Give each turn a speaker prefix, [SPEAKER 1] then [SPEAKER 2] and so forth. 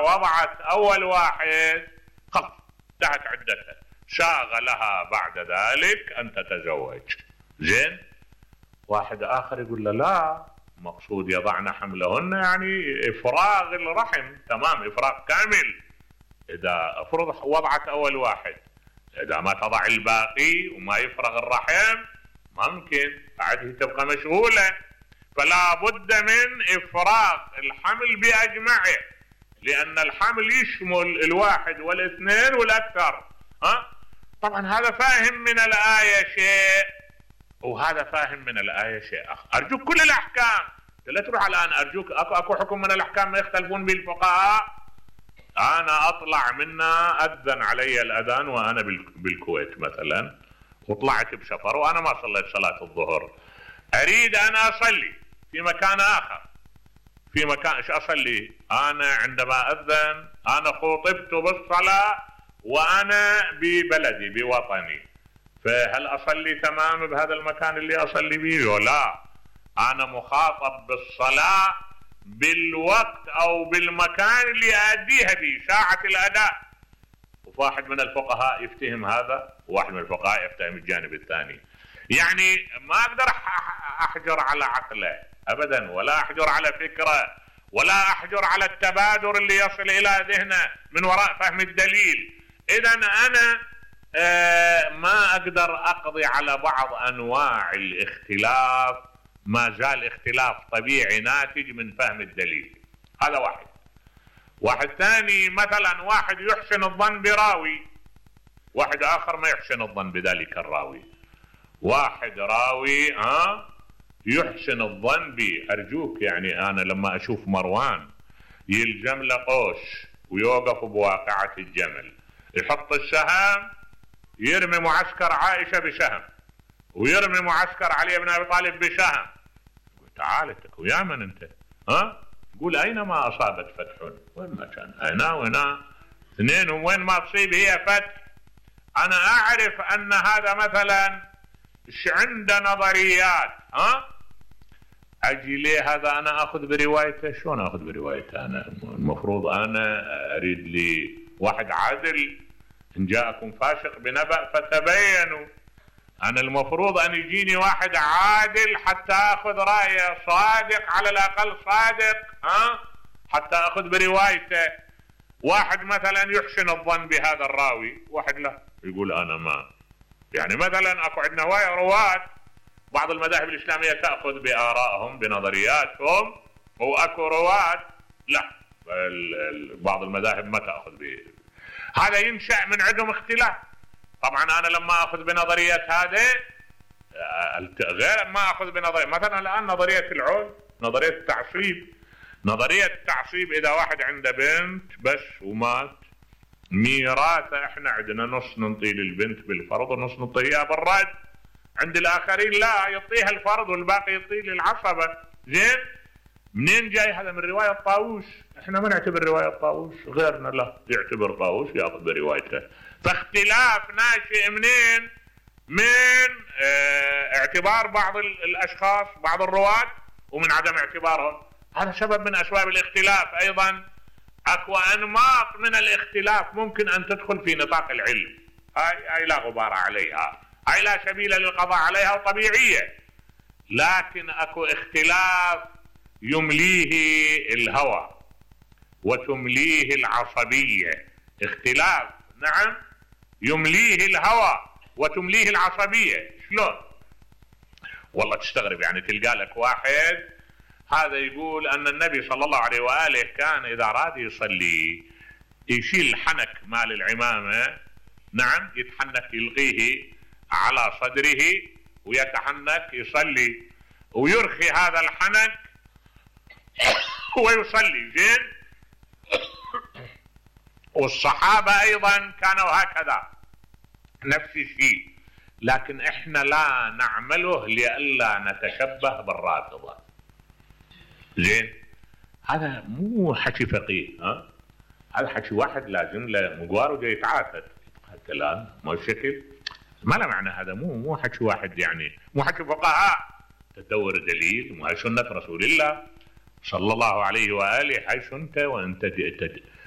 [SPEAKER 1] وضعت اول واحد خلاص انتهت عدتها، شاغلها بعد ذلك ان تتزوج. زين، واحد اخر يقول له لا، مقصود يضعن حملهن يعني افراغ الرحم، تمام، افراغ كامل. اذا افرض وضعت اول واحد، اذا ما تضع الباقي وما يفرغ الرحم ممكن بعده تبقى مشغولة، فلا بد من افراغ الحمل باجمعه، لان الحمل يشمل الواحد والاثنين والاكثر. طبعا هذا فاهم من الآية شيء وهذا فاهم من الآية شيء آخر. أرجوك كل الأحكام لا تروح الآن، أرجوك أكو حكم من الأحكام ما يختلفون به الفقهاء، أنا أطلع منا أذن علي الأذان وأنا بالكويت مثلا، وطلعت بسفر وأنا ما صليت صلاة الظهر، أريد أن أصلي في مكان آخر، في مكان إيش أصلي؟ أنا عندما أذن أنا خطبت بالصلاة وأنا ببلدي بوطني، فهل أصلي تمام بهذا المكان اللي أصلي به؟ لا، أنا مخاطب بالصلاة بالوقت أو بالمكان اللي أديها به، ساعة الأداء. وواحد من الفقهاء يفتهم هذا وواحد من الفقهاء يفتهم الجانب الثاني. يعني ما أقدر أحجر على عقله أبدا، ولا أحجر على فكرة، ولا أحجر على التبادر اللي يصل إلى ذهنه من وراء فهم الدليل. إذا أنا ما أقدر أقضي على بعض أنواع الاختلاف، ما زال اختلاف طبيعي ناتج من فهم الدليل. هذا واحد. واحد ثاني مثلا واحد يحسن الظن براوي، واحد آخر ما يحسن الظن بذلك الراوي. واحد راوي يحسن الظن بي، أرجوك يعني أنا لما أشوف مروان يلجم له قوش ويوقف بواقعة الجمل، يحط السهم يرمي معسكر عائشة بسهم ويرمي معسكر علي بن أبي طالب بسهم، تعال انت ويا من انت؟ قول اينما اصابت فتح، وين ما كان هنا وهنا اثنين، وين ما تصيب هي فتح. انا اعرف ان هذا مثلا عنده نظريات، اجي ليه هذا انا اخذ بروايته؟ شلون اخذ بروايته؟ انا المفروض انا اريد لي واحد عادل، ان جاءكم فاسق بنبأ فتبينوا. أنا المفروض أن يجيني واحد عادل حتى أخذ رأيه، صادق على الأقل صادق، حتى أخذ بروايته. واحد مثلا يحسن الظن بهذا الراوي، واحد لا يقول أنا ما، يعني مثلا أكو عندنا رواة بعض المذاهب الإسلامية تأخذ بآرائهم بنظرياتهم، وأكو رواة لا، بعض المذاهب ما تأخذ به. هذا ينشأ من عندهم اختلاف. طبعا انا لما اخذ بنظريه هذه غير ما اخذ بنظريه مثلا الان نظريه العول، نظريه التعصيب. نظريه التعصيب اذا واحد عنده بنت بس ومات، ميراثه احنا عندنا نص نعطيه للبنت بالفرض ونص نعطيها بالرد، عند الاخرين لا، يعطيها الفرض والباقي يعطيه للعصبه. زين، منين جاي هذا؟ من روايه طاووس. احنا ما نعتبر روايه طاووس، غيرنا لا يعتبر طاووس ياخذ بروايته. فاختلاف ناشئ منين؟ من اعتبار بعض الاشخاص بعض الرواة ومن عدم اعتبارهم. هذا سبب من اسباب الاختلاف. ايضا اكو انماط من الاختلاف ممكن ان تدخل في نطاق العلم، هاي لا غبار عليها، هاي لا سبيل للقضاء عليها وطبيعية. لكن اكو اختلاف يمليه الهوى وتمليه العصبية. اختلاف نعم يمليه الهوى وتمليه العصبية. شلون؟ والله تستغرب، يعني تلقى لك واحد هذا يقول أن النبي صلى الله عليه وآله كان إذا أراد يصلي يشيل الحنك مال العمامة، نعم، يتحنك يلقيه على صدره ويتحنك يصلي ويرخي هذا الحنك ويصلي. زين، والصحابة أيضا كانوا هكذا نفس الشيء، لكن إحنا لا نعمله لئلا نتشبه بالرافضة. زين، هذا مو حكي فقيه، هذا حكي واحد لازم له مقوار وجاي يتعاتد الكلام ما الشكل، ما له معنى. هذا مو حكي واحد، يعني مو حكي فقهاء. تدور دليل، وهي سنة رسول الله صلى الله عليه وآله، هاي سنته وانت